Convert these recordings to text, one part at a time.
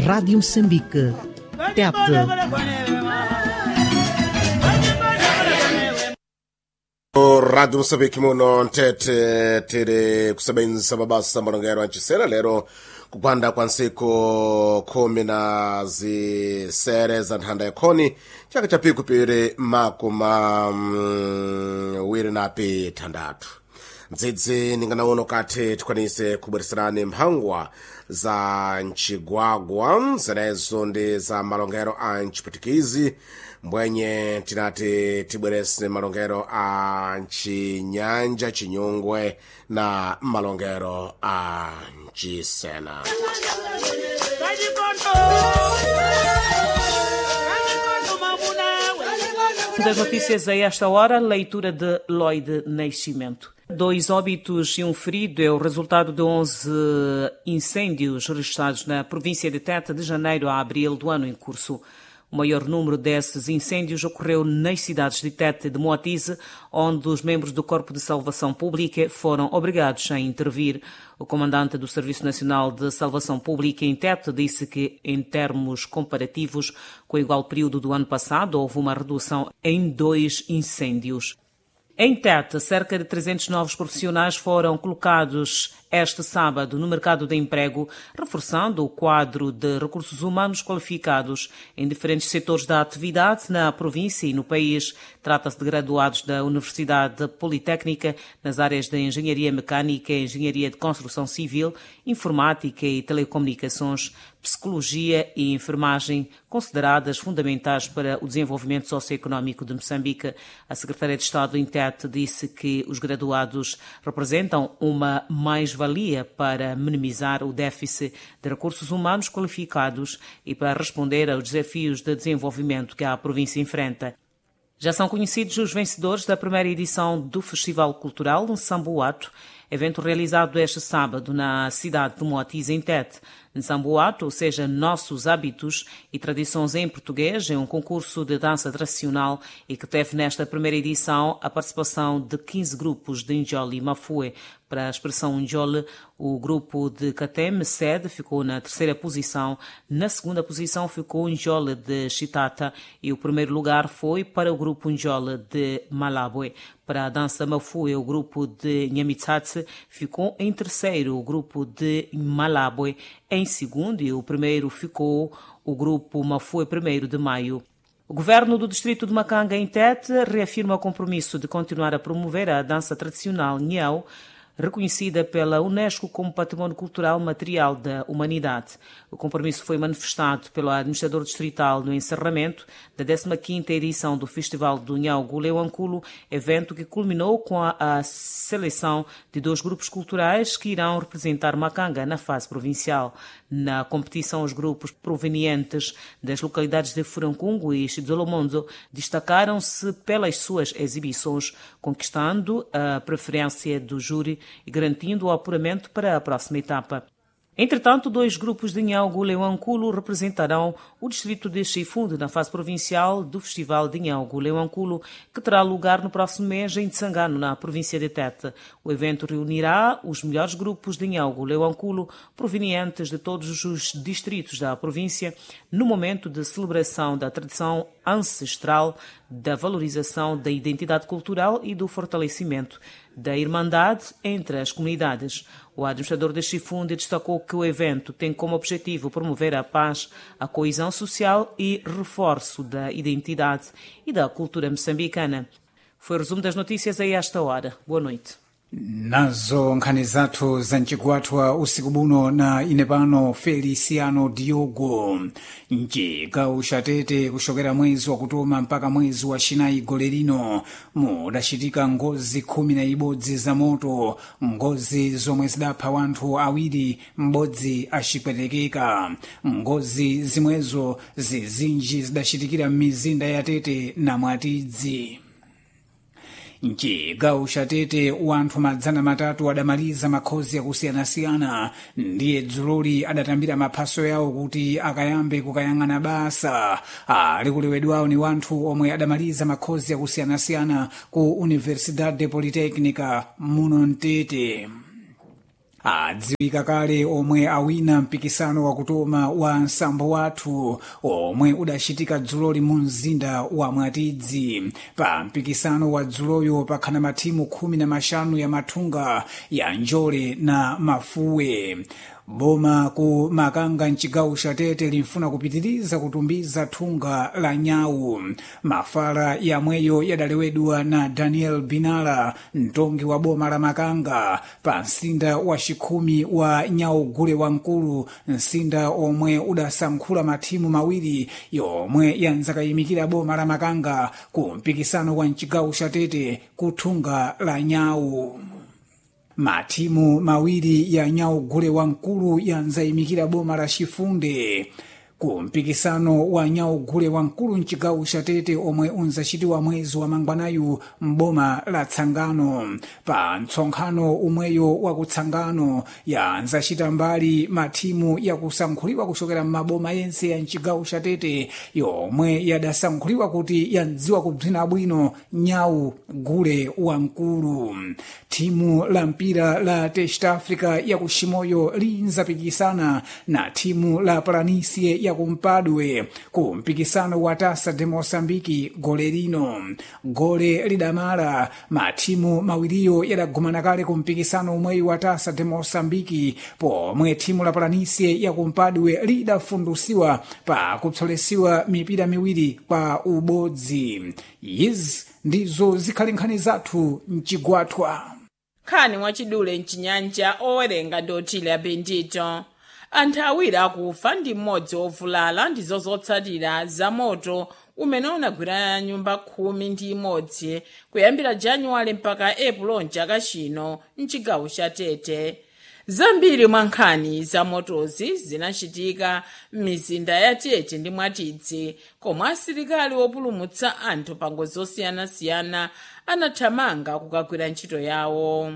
Rádio Moçambique. Tete. Radio Moçambique muno ntete tiri kusebenzisa mabasa malongero ancisera lero kupanda kwa ntsiku khumi na zisere za nthanda yakhoni chaka cha pikupiri makumi wiri na pithandathu ndzidzi ninganauno kathi tikwanise kubwereserani mphangwa za ncigwagwa zenezo ndi za malongero a ncipwitikizi mbwenye tinati tibwerese malongero a ncinyanja cinyungwe na malongero a ncisena. Das notícias a esta hora, leitura de Lloyd Nascimento. Dois óbitos e um ferido é o resultado de 11 incêndios registrados na província de Tete de janeiro a abril do ano em curso. O maior número desses incêndios ocorreu nas cidades de Tete e de Moatize, onde os membros do Corpo de Salvação Pública foram obrigados a intervir. O comandante do Serviço Nacional de Salvação Pública em Tete disse que, em termos comparativos com o igual período do ano passado, houve uma redução em 2 incêndios. Em Tete, cerca de 300 novos profissionais foram colocados este sábado no mercado de emprego, reforçando o quadro de recursos humanos qualificados em diferentes setores da atividade na província e no país. Trata-se de graduados da Universidade Politécnica nas áreas de Engenharia Mecânica, Engenharia de Construção Civil, Informática e Telecomunicações, Psicologia e Enfermagem, consideradas fundamentais para o desenvolvimento socioeconómico de Moçambique. A Secretária de Estado em Tete disse que os graduados representam uma mais-valia para minimizar o déficit de recursos humanos qualificados e para responder aos desafios de desenvolvimento que a província enfrenta. Já são conhecidos os vencedores da primeira edição do Festival Cultural Nsamboato, evento realizado este sábado na cidade de Moatize, em Tete. Nsamboato, ou seja, Nossos Hábitos e Tradições em Português, é um concurso de dança tradicional e que teve nesta primeira edição a participação de 15 grupos de Njoli e Mafue. Para a expressão Njoli, o grupo de Kateme, sede, ficou na terceira posição. Na segunda posição ficou Njoli de Chitata e o primeiro lugar foi para o grupo Njoli de Malabwe. Para a dança Mafue, o grupo de Nhamitsatse ficou em terceiro, o grupo de Malabwe em segundo e o primeiro ficou o grupo Mafue 1º de Maio. O governo do distrito de Macanga, em Tete, reafirma o compromisso de continuar a promover a dança tradicional Nyau, reconhecida pela Unesco como Património Cultural Material da Humanidade. O compromisso foi manifestado pelo administrador distrital no encerramento da 15ª edição do Festival do Nhauguleu Leuanculo, evento que culminou com a seleção de 2 grupos culturais que irão representar Macanga na fase provincial. Na competição, os grupos provenientes das localidades de Furancungo e Xidolomondo destacaram-se pelas suas exibições, conquistando a preferência do júri e garantindo o apuramento para a próxima etapa. Entretanto, 2 grupos de Nhauguleu Leuanculo representarão o distrito de Chifunde na fase provincial do Festival de Nhauguleu Leuanculo, que terá lugar no próximo mês em Tsangano, na província de Tete. O evento reunirá os melhores grupos de Nhauguleu Leuanculo provenientes de todos os distritos da província, no momento de celebração da tradição ancestral, da valorização da identidade cultural e do fortalecimento da irmandade entre as comunidades. O administrador de Chifunde destacou que o evento tem como objetivo promover a paz, a coesão social e reforço da identidade e da cultura moçambicana. Foi o resumo das notícias a esta hora. Boa noite. Nazo nkhani zathu za mcigwathwa usiku buno na ine pano Feliciano Diogo. Mcigawo cha Tete kuxokera mwezi wakutoma mpaka mwezi wa xinayi gole lino mudacitika ngozi 11 za moto, ngozi zomwe zidapha wanthu awiri, m'bodzi acipwetekeka. Ngozi zimwezo zizinji zidacitikira m'mizinda ya Tete na Mwatidzi. Mcigawo cha Tete wanthu 300 adamaliza makhozi akusiyana-siyana ndiye dzuloli adatambira maphaso yawo kuti akayambe kukayang'ana basa. Ali kulewedwawo ni wanthu omwe adamaliza makhozi akusiyana-siyana ku Universidade Politécnica muno Mtete. Adziwika kale omwe awina mpikisano wakutoma wa nsambo wathu omwe udachitika dzuloli mu mzinda wa Mwatidzi. Pa mpikisano wa dzuloyo pakhana mathimu 15 ya mathunga ya njole na mafuwe. Boma ku Makanga mchigawo cha Tete limfuna kupitiriza kutumbiza thunga la nyawu. Mafala yamweyo yadalewedwa na Daniel Binala, mtongi wa boma la Makanga, pa msinda wa chikhumi wa nyawu gule wamkulu, msinda omwe udasankhula mathimu mawiri yomwe yanzakayimikira boma la Makanga ku mpikisano wa mchigawo cha Tete ku thunga la nyawu. Mathimu mawiri ya nyawu gule wamkulu yanzayimikira boma la Chifunde ku mpikisano wa nyawu gule wamkulu mchigawo cha Tete omwe unzachitiwa mwezi wa mangwanayu m'boma la Tsangano. Pa mtsonkhano umweyo wa kutsangano yanzachita mbali mathimu yakusankhuliwa kuchokera m'maboma yense ya mchigawo cha Tete yomwe yadasankhuliwa kuti yandziwa kubzina bwino nyawu gule wamkulu. Thimu la mpira la Test Africa yakuximoyo linzapikisana na thimu la Palanisie yakumpadwe ku mpikisano wa Tasa de Moçambique gole lino. Gole lidamala mathimu mawiriyo yadagumana kale ku mpikisano umweyi wa Tasa de Moçambique pomwe thimu la Palanisie yakumpadwe lidafundusiwa pa kupsolesiwa mipira miwiri kwa ubodzi. Izi ndizo zikhali nkhani zathu mchigwathwa. Nkhani mwachidule mchinyanja, owerenga ndi Otile Bendito. Anthu awiri akufa ndi mmodzi ovulala ndizo zotsatira za moto umene unagwira nyumba 11 kuyambira Januwale mpaka Epulo mchaka chino mchigawo cha Tete. Zambiri mwa nkhani za motozi zinachitika m'mizinda ya Tete ndi Mwatidzi, komwe asilikali opulumutsa anthu pa ngozi zosiyanasiyana anathamanga kukagwira ntchito yawo.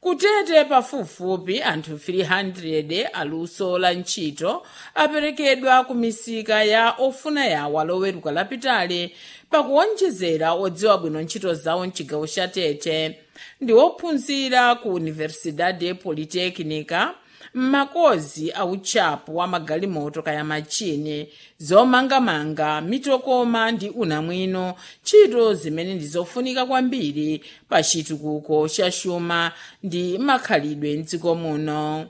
Kutete pafupifupi anthu 300 aluso la ntchito aperekedwa ku misika ya ofuna yawo loweruka lapitali, pakuwonjezera odziwa bwino ntchito zawo mchigawo cha Tete ndi ophunzira ku Universidade Politekinika m'makozi autchapu wa magalimoto kaya machini, zomangamanga, mitokoma ndi unamwino, ntchito zimene ndi zofunika kwambiri pa chitukuko cha xuma ndi makhalidwe mdziko muno.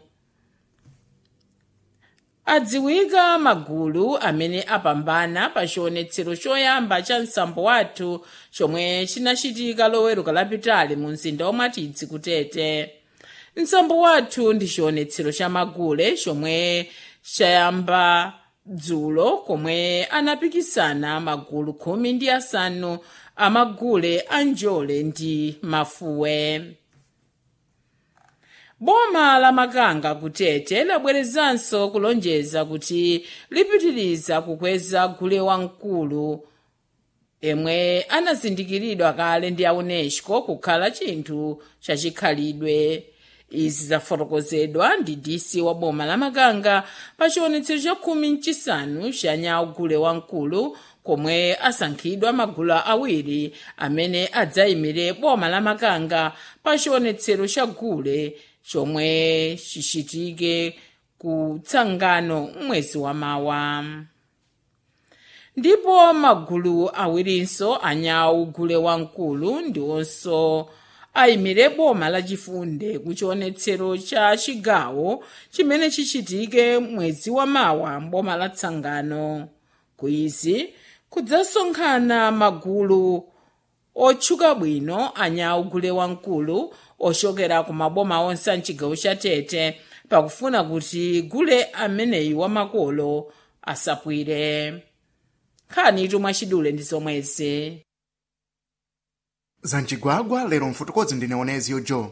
Adziwika magulu amene apambana pa chionetsero choyamba cha nsambo wathu chomwe chinachitika loweruka lapitali mu mzinda wa Mwatidzi kutete. Nsambo wathu ndi chionetsero cha magule chomwe chayamba dzulo, komwe anapikisana magulu 15 amagule a njole ndi mafuwe. Boma la Makanga kutete labwerezanso kulonjeza kuti lipitiriza kukweza gule wamkulu yemwe anazindikiridwa kale ndi a UNESCO kukhala chinthu chachikhalidwe. Izi zafotokozedwa ndi DC wa boma la Makanga pa chionetsero cha 15 cha nyawu gule wamkulu, komwe asankhidwa magulu awiri amene adzayimire boma la Makanga pa chionetsero cha gule chomwe chichitike ku Tsangano mwezi wa mawa. Ndipo magulu awirinso anyawu gule wamkulu ndiwonso ayimire boma lachifunde ku chionetsero cha chigawo chimene chichitike mwezi wa mawa mboma la Tsangano. Kuizi kudzasonkhana magulu otchuka bwino anyawu gule wamkulu ochokera ku maboma onse a mchigawo cha Tete pakufuna kuti gule ameneyi wamakolo asapwire. Nkhani mwachidule ndi zomwezi. Zamchigwagwa lero mfotokozi ndine Onezio Joe.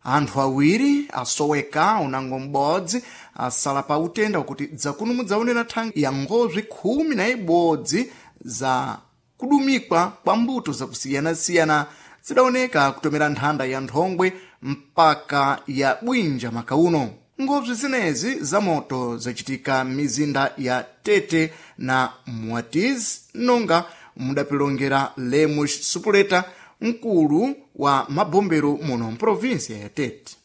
Anthu awiri asoweka unango m'bodzi asala pa utenda wakuti dzakuno mudzaonera thangi ya ngozwi 11 za kudumikwa kwa mbuto zakusiyanasiyana zidaoneka kutomera nthanda ya nthongwe mpaka ya bwinja makauno. Ngozwi zinezi za moto zachitika m'mizinda ya Tete na Mwatiz, nonga mudapilongera Lemos Supuleta, mkulu wa mabombero muno mprovinsia ya Tete.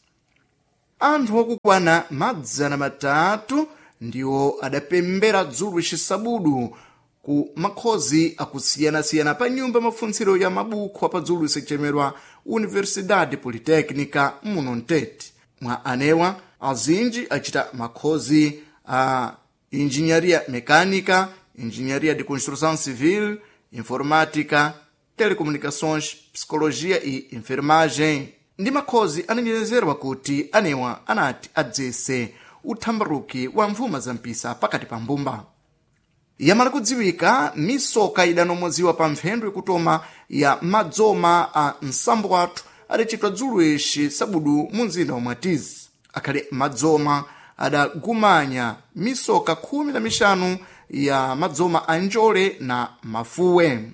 Anthu okukwana 300 ndiwo adapembera dzulo xisabudu ku makhozi akusiyana-siyana pa nyumba mafuntsiro ya mabukho apadzulu isechemerwa Universidade Politécnica muno mtete. Mwa anewa azinji achita makhozi a engenharia mecânica, engenharia de construção civil, informática, telecomunicações, psicologia e enfermagem. Ndi makhozi anenyenezerwa kuti anewa anati adzese uthambaruki wa mvuma za mpisa pakati pa mbumba. Yamala kudziwika misoka idanomoziwa pa mphendu ikutoma ya madzoma a nsambo wathu adachitwa dzulo ixi sabudu mu mzinda wa Mwatizi. Akhale madzoma adagumanya misoka 15 ya madzoma a njole na mafuwe.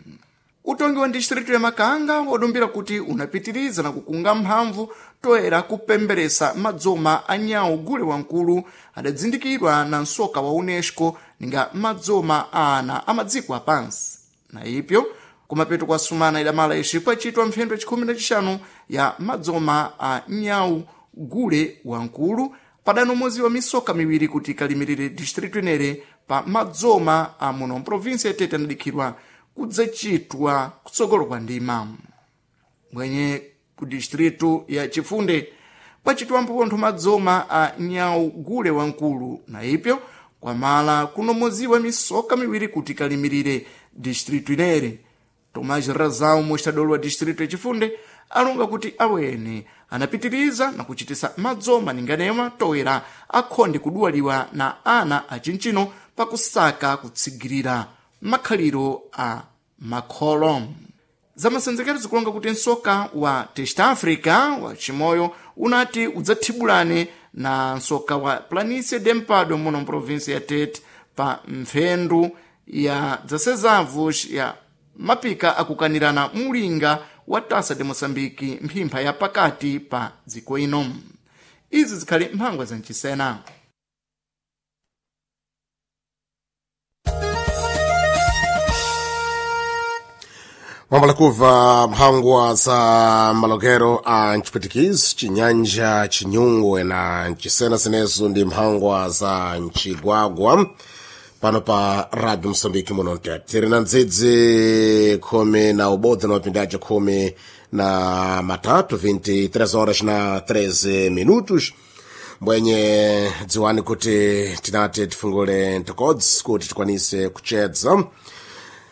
Utongi wa distritu ya Makanga wadumbira kuti unapitiriza na kukunga mphamvu toera kupemberesa madzoma a nyawu gule wamkulu adadzindikirwa na msoka wa UNESCO ninga madzoma a ana amadziko apansi. Na ipyo kumapeto kwa sumana idamala ixi kwachitwa mphendu ya 15 ya madzoma a nyawu gule wamkulu padanomoziwa misoka miwiri kuti ikalimirire distritu inere pa madzoma a muno mprovinsi ya Tete anadikhirwa kudzachitwa kutsogolo kwa ndima. Mwenye ku distritu ya Chifunde kwachitwa mphophontho madzoma a nyawu gule wamkulu na ipyo kwamala kunomoziwa misoka miwiri kuti ikalimirire distritu inere. Tomás Razão, mostrador wa distritu ya Chifunde, alonga kuti awene anapitiriza na kuchitisa madzoma ninganema toera akhonde kuduwaliwa na ana achinchino pakusaka kutsigirira makhaliro a makholo. Zamasenzekero zikulonga kuti msoka wa Test Africa wa chimoyo unati udzathibulane na msoka wa Planície de Mpado muno mprovinsi ya Tete pa mphendu ya dzasezavos ya mapika akukanirana mulinga wa Taça de Moçambique mphimpha ya pakati pa dziko ino. Izi zikhali mphangwa zamchisena. Mwambala kubva mphangwa za malokero a mchiputikisi, chinyanja, chinyungwe na mchisena zinezo ndi mphangwa za mchigwagwa pano pa Radio Mosambiki muno mtete. Tiri na ndzidzi 11 na mapindi aja 13, 23 horas na 13 minutos. Mbwenye dziwani kuti tinati tifungule ntokodzi kuti tikwanise kuchedza,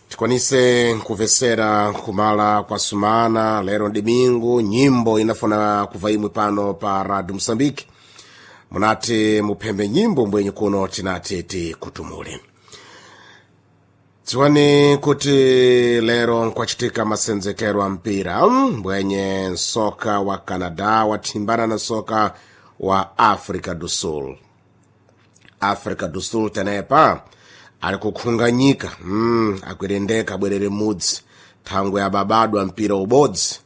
tikwanise kumvesera kumala kwa sumana lero domingo nyimbo inafuna kuva imwe pano pa Radio Mosambiki. Munati muphembe nyimbo mbwenye kuno tinati tikutumule. Dziwani kuti lero nkwachitika masenzekero a mpira mbwenye nsoka wa Canada wathimbana na nsoka wa Africa do Sul. Africa do Sul tenepa ali kukhunganyika, akwirendeka abwerere mudzi thangwe ababadwa mpira ubodzi.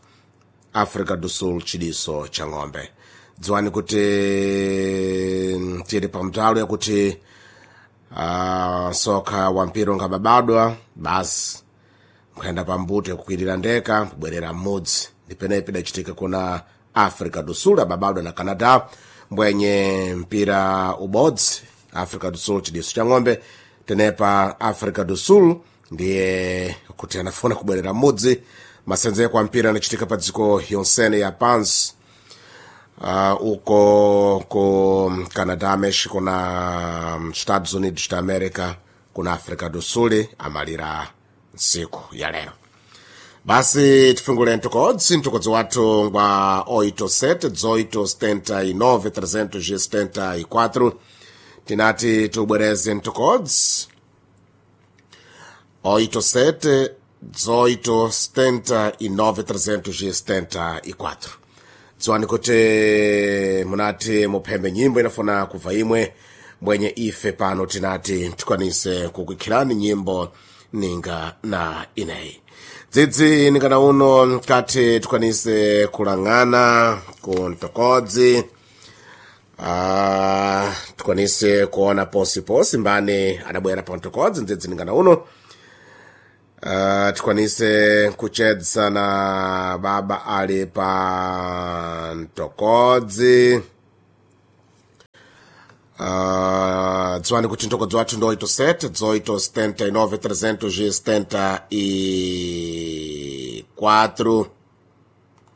Africa do Sul chidiso cha ng'ombe. Dziwani kuti tili pamtalo yakuti soka wa mpira ungababadwa basi nkhuyenda pambuto yakukwirira ndeka kubwerera mmudzi. Ndipenepi idachitika kuna Africa do Sul ababadwa na Canada mbwenye mpira ubodzi Africa do Sul chidiso cha ng'ombe. Tenepa Africa do Sul ndiye kuti anafuna kubwerera mmudzi. Masenzeko a mpira anachitika pa dziko yonsene ya pansi, uko ku Canadá, México na Estados Unidos da América kuna Africa do Sul amalira ntsiku ya lero. Basi tifungule ntokodzi ntokodzi wathu ngwa 87 18 79 374. Tinati tubwereze ntokodzi 87 18 79 374. Dziwani kuti munati muphembe nyimbo inafuna kuva imwe mbwenye ife pano tinati tikwanise kukuikhirani nyimbo ninga na ineyi. Dzidzi ningana uno mkati tikwanise kulang'ana ku ntokodzi, tikwanise kuona posiposi mbani adabwera pa ntokodzi ndzidzi ningana uno. Tikwanise kuchedza na baba ali pa ntokodzi. Dziwani kuti ntokodzo wathu ndi 87 18 79 374.